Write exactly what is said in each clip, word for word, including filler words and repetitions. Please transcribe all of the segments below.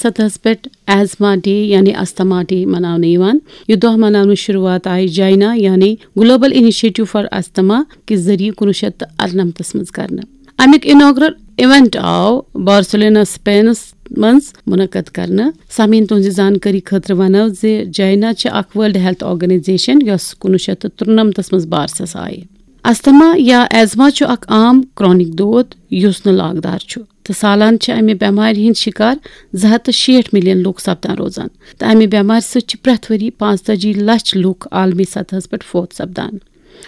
سطحس پٮ۪ٹھ asthma day یعنی استھما ڈے مناونہٕ یِوان۔ یہِ دۄہ مناونٕچ شروٗعات آیہِ جائنا یعنی گلوبل انیشیٹو فار استھما کہِ ذٔریعہٕ کُنوُہ شیٚتھ تہٕ اَرنَمتس منٛز کرنہٕ۔ اَمیُک اناگرل ایونٹ آو بارسلونا، اسپینس منٛز منعقد کرنہٕ۔ سامعین، تُہنٛزِ زانکٲری خٲطرٕ ونو زِ جائنا چھِ اکھ ورلڈ ہیلتھ آرگنائزیشن، یۄس کُنوُہ شیٚتھ تہٕ ترُنَمتس منٛز بارسس آیہِ۔ استھما یا ایزما چھُ اکھ عام کرونک دود یُس نہٕ لاگدار چھُ، تہٕ سالانہٕ چھِ امہِ بٮ۪مارِ ہٕنٛدۍ شِکار زٕ ہتھ تہٕ شیٹھ ملین لوٗکھ سپدان روزان، تہٕ امہِ بٮ۪مارِ سۭتۍ چھِ پرٛٮ۪تھ ؤری پانٛژتٲجی لچھ لوٗکھ عالمی سطحس پٮ۪ٹھ فوت سپدان۔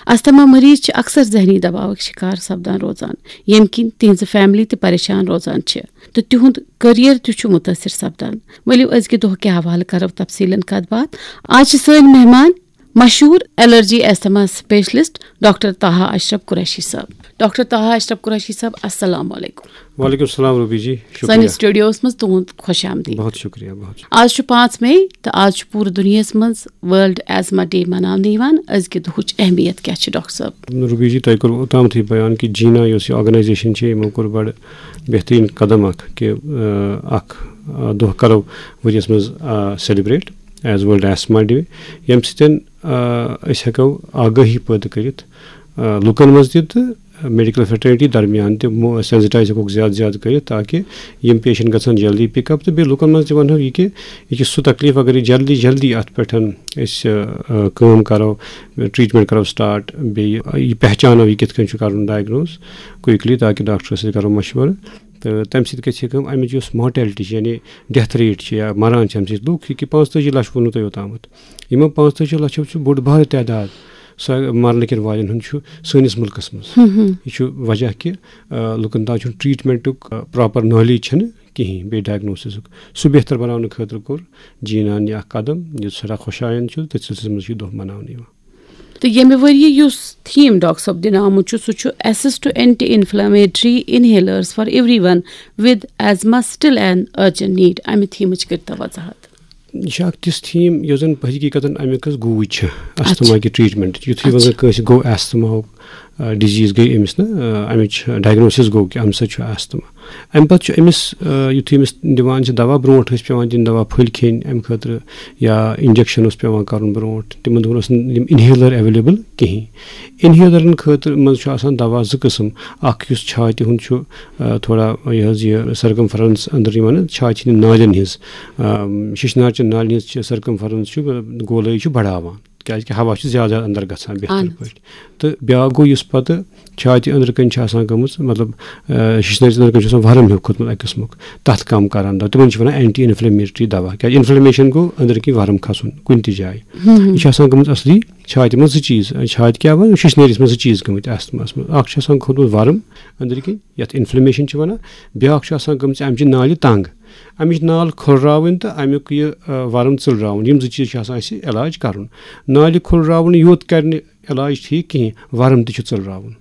استھما مریض چھِ اکثر ذہنی دباوٕکۍ شِکار سپدان روزان، ییٚمہِ کِنۍ تِہنٛزٕ فیملی تہِ پریشان روزان چھِ تہٕ تِہُنٛد کیریئر تہِ چھُ مُتٲثر سپدان۔ ؤلِو، أزکہِ دۄہ کہِ حوالہٕ کرو تفصیلن کتھ باتھ۔ آز چھِ سٲنۍ مہمان مشہوٗر allergy asthma specialist doctor Taha Ashraf Qureshi sahab. Doctor Taha Ashraf Qureshi صٲب، السلام علیکم۔ وعلیکم السلام روبی جی، شکریہ۔ سٲنِس سٹوڈیوس منٛز تُہُنٛد خۄش آمدید۔ بہت شکریہ، بہت شکریہ۔ آز چھُ پانٛژھ مئی تہٕ آز چھُ پوٗرٕ دُنیاہَس منٛز ورلڈ ایزما ڈے مناونہٕ یِوان۔ أزکہِ دُہٕچ اہمیت کیٛاہ چھِ، ڈاکٹر صٲب؟ روبی جی، تۄہہِ کوٚروٕ اوٚتامتھٕے بیان کہِ جینا یۄس یہِ آرگنایزیشن چھِ، یِمو کوٚر بڑٕ بہتریٖن قدم اکھ کہِ، آ، اکھ، آ، دۄہ کرو ؤریَس منٛز، آ، celebrate as world asthma day, ییٚمہِ سۭتۍ، آ، أسۍ ہٮ۪کو آگٲہی پٲدٕ کٔرِتھ، آ، لُکن منٛز تہِ تہٕ میڈیکل فریٹرنٹی درمیان تہِ مو-، سینسٹائز ہٮ۪کوکھ زیادٕ زیادٕ کٔرِتھ، تاکہِ یِم پیشنٹ گژھن جلدی پک اپ، تہٕ بیٚیہِ لُکن منٛز تہِ ونہو یہِ کہِ یہِ چھُ سُہ تکلیف، اگر یہِ جلدی جلدی اتھ پٮ۪ٹھ أسۍ، آ، کٲم کرو، ٹریٹمنٹ کرو سٹارٹ، بیٚیہِ یہِ پہچانو یہِ کِتھ کٔنۍ چھُ کرُن ڈائگنوز کوئکلی، تاکہِ ڈاکٹرس سۭتۍ کرو مشورٕ۔ تہٕ تمہِ سۭتۍ گژھِ کٲم، امِچ یۄس مارٹیلٹی چھِ، یعنی ڈیتھ ریٹ چھِ یا مران چھِ امہِ سۭتۍ لُکھ، یہِ کہِ پانٛژتٲجی لچھ ووٚنوٕ تۄہہِ اوٚتامتھ، یِمو پانٛژتٲجی لچھو چھُ بوٚڑ بارٕ تعداد سۄ مرنہٕ کٮ۪ن والٮ۪ن ہُنٛد چھُ سٲنِس مُلکس منٛز۔ ہم ہم۔ یہِ چھُ وجہ کہِ، آ، لُکن تام چھُنہٕ ٹریٹمنٹُک، آ، پراپر نالیج چھنہٕ کِہینۍ، بیٚیہِ ڈائگنوسسُک سُہ بہتر بناونہٕ خٲطرٕ کوٚر جینان یہِ اکھ قدم، یُس سٮ۪ٹھاہ خۄش آیند چھُ، تٔتھۍ سلسلس منٛز چھُ یہِ دۄہ مناونہٕ یِوان۔ تہٕ ییٚمہِ ؤریہِ یُس تھیم ڈاکٹر صٲب دِنہٕ آمُت چھُ، سُہ چھُ access to anti inflammatory inhalers for everyone with asthma still in urgent need. امہِ تھیمٕچ کٔرتو وضاحت۔ یہِ چھِ اکھ تِژھ تھیم یۄس زن حقیقتن امیُک حظ گوٗج چھِ۔ استھما کہِ ٹریٹمنٹ یُتھُے وۄنۍ زن کٲنٛسہِ گوٚو استھماہُک، آ، ڈیزیز گٔے أمِس نہ، آ، امِچ ڈائگنوسس گوٚو کہِ امہِ سۭتۍ چھُ استھما۔ امہِ پتہٕ چھُ أمِس، آ، یُتھُے أمِس دِوان چھِ دوا، برونٛٹھ ٲسۍ پٮ۪وان دِنۍ دوا پھٔلۍ کھیٚنۍ امہِ خٲطرٕ یا انجیکشن اوس پٮ۪وان کرُن برونٛٹھ، تِمن دۄہن اوس نہٕ یِم انہیلر اویلیبل کِہینۍ۔ انہیلرن خٲطرٕ منٛز چھُ آسان دوا زٕ قٕسم، اکھ یُس چھاتہِ ہُنٛد چھُ، آ، تھوڑا یہِ حظ یہِ سرکمفرنس أنٛدرٕ یِوان چھاتہِ ہٕنٛدٮ۪ن نالٮ۪ن ہٕنٛز، آ، شِشنارچٮ۪ن نالٮ۪ن ہٕنٛز چھِ سرکمفرنس چھُ گولٲیی چھُ بڑاوان، کیازِ کہِ ہوا چھُ زیادٕ زیادٕ اندر گژھان بہتر اہن حظ۔ پٲٹھۍ۔ تہٕ بیاکھ گوٚو یُس پتہٕ چھاتہِ أنٛدرٕ کنہِ چھِ آسان گٔمٕژ، مطلب، آ، شِشنٲرِس أنٛدرٕ کنہِ چھُ آسان ورم ہیوٗ کھوٚتمُت اَکہِ قٕسمُک، تَتھ کَم کران دَوا۔ تِمن چھِ وَنان اینٹی انفلیمیٹری دَوا، کیازِ انفلیمیشن گوٚو أنٛدرٕ کِنۍ ورم کھسُن کُنہِ تہِ جایہِ۔ ہم۔ یہِ چھُ آسان گٔمٕژ اصلی چھاتہِ منٛز زٕ چیٖز، چھاتہِ کیٛاہ وَنان، شِشنٲرِس منٛز زٕ چیٖز گٔمٕتۍ اَستھماہَس منٛز۔ اکھ چھُ آسان کھوٚتمُت ورم أنٛدرٕ کِنۍ، یَتھ انفلیمیشن چھِ وَنان، بیاکھ چھُ آسان گٔمٕژ اَمہِ چہِ نالہِ تنگ، اَمِچ نال کھُلراوٕنۍ تہٕ اَمیُک یہِ، آ، ورم ژٔلراوُن، یِم زٕ چیٖز چھِ آسان اَسہِ علاج کرُن۔ نالہِ کھُلراوُن یوت کرِ نہٕ علاج ٹھیٖک کِہینۍ، ورم تہِ چھُ ژٔلراوُن۔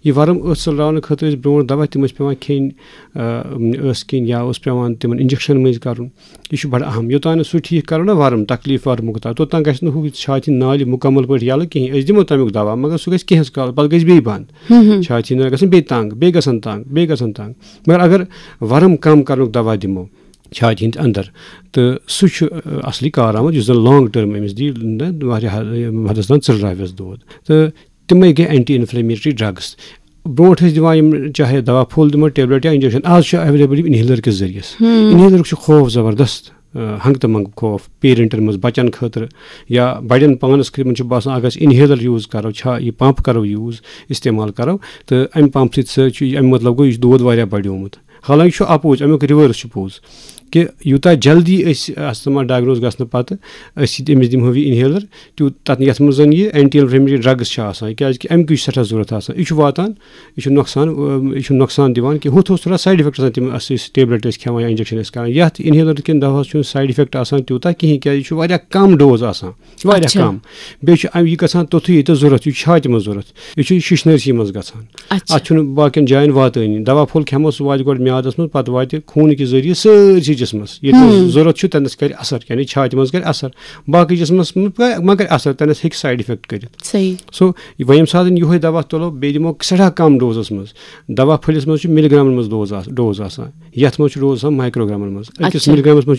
یہِ ورم ٲس ژٔلراونہٕ خٲطرٕ ٲسۍ برونٛٹھ دوا، تِم ٲسۍ پٮ۪وان کھیٚنۍ، آ، ٲس کِنۍ یا اوس پٮ۪وان تِمن انجیکشن مٔنٛزۍ کرُن۔ یہِ چھُ بڑٕ اہم۔ یوٚتام نہٕ سُہ ٹھیٖک کرو نا ورم، تکلیف ورمُک تام، توٚتام گژھِ نہٕ ہُہ چھاتہِ ہٕنٛز نالہِ مُکمل پٲٹھۍ یلہٕ کِہینۍ۔ أسۍ دِمو تمیُک دوا، مگر سُہ گژھِ کینٛہس کالس، پتہٕ گژھِ بیٚیہِ بنٛد۔ ہم ہم۔ چھاتہِ ہٕنٛز نالہِ گژھن بیٚیہِ تنگ، بیٚیہِ گژھن تنگ، بیٚیہِ گژھن تنگ۔ مگر اگر ورم کم کرنُک دوا دِمو چھاتہِ ہٕنٛدِ اندر، تہٕ سُہ چھُ، آ، اصلی کارآمد، یُس زن لانگ ٹرم أمِس دِیہِ، نہ، واریاہ، آ، حدس تام ژٔلراوٮ۪س دود۔ تہٕ تِمے گٔے اینٹی انفلیمیٹری ڈرگس۔ برونٛٹھ ٲسۍ دِوان یِم، چاہے دوا پھوٚل دِمو، ٹیبلٹ یا انجیکشن، آز چھُ اویلیبل یِم انہیلر کِس ذٔریعس۔ ہم۔ انہیلرُک چھُ خوف زبردست، آ، ہنٛگہٕ تہٕ منٛگہٕ خوف پیرنٹن منٛز، بچن خٲطرٕ یا بڑٮ۪ن پانس خٲطرٕ۔ یِمن چھُ باسان، اگر أسۍ انہیلر یوٗز کرو، چھا یہِ پمپ کرو یوٗز، استعمال کرو، تہٕ امہِ پمپ سۭتۍ سۭتۍ چھُ، امیُک مطلب گوٚو، یہِ چھُ دود واریاہ بڑیومُت۔ حالانکہِ چھُ اپوز، امیُک ریورس چھُ پوٚز کہِ یوٗتاہ جلدی أسۍ استھما ڈائگنوز گژھنہٕ پتہٕ أسۍ أمِس دِمہو یہِ انہیلر، تیوٗت تتھ، یتھ منٛز زن یہِ اینٹی انفلیمیٹری ڈرگس چھِ آسان، کیازِ کہِ امہِ کُے چھِ سٮ۪ٹھاہ ضروٗرت آسان۔ یہِ چھُ واتان، یہِ چھُ نۄقصان، اۭں، یہِ چھُ نۄقصان دِوان کہِ ہُتھ اوس تھوڑا سایڈ افیکٹ آسان، تِم اَسہِ أسۍ ٹیبلٹ ٲسۍ کھٮ۪وان یا انجیکشن ٲسۍ کران، یتھ انہیلر کِنۍ دوہس چھُنہٕ سایڈ افیکٹ آسان تیوٗتاہ کِہینۍ، کیازِ یہِ چھُ واریاہ کم ڈوز آسان، واریاہ اچھا۔ کم۔ بیٚیہِ چھُ ام-، یہِ گژھان توٚتھُے ییٚتٮ۪تھ ضروٗرت، یہِ چھُ چھاتہِ منٛز ضروٗرت، یہِ چھُ شِشنٲرسٕے منٛز گژھان۔ اچھا۔ اتھ چھُنہٕ باقین جاین واتٲنی۔ دوا پھوٚل کھٮ۪مو، سُہ واتہِ گۄڈٕ میادس منٛز، پتہٕ واتہِ خوٗنہٕ کہِ ذٔریعہٕ سٲرسٕے جسمس، ییٚتہِ نَس ضروٗرت چھُ تَتہِ نَس کَرِ اثر، یعنی چھاتہِ منٛز کَرِ اثر، باقٕے جسمس منٛز ما کَرِ اثر، تَتہِ نَس ہیٚکہِ سایڈ افیکٹ کٔرِتھ۔ صحیح۔ سو وۄنۍ ییٚمہِ ساتہٕ یِہوٚے دوا تُلو، بیٚیہِ دِمو سٮ۪ٹھاہ کم ڈوزس منٛز۔ دوا پھٔلِس منٛز چھُ مِلی گرامن منٛز ڈوز آس-، ڈوز آسان، یَتھ منٛز چھُ ڈوز آسان مایکرو گرامن منٛز۔ أکِس اچھا۔ مِلی گرامس منٛز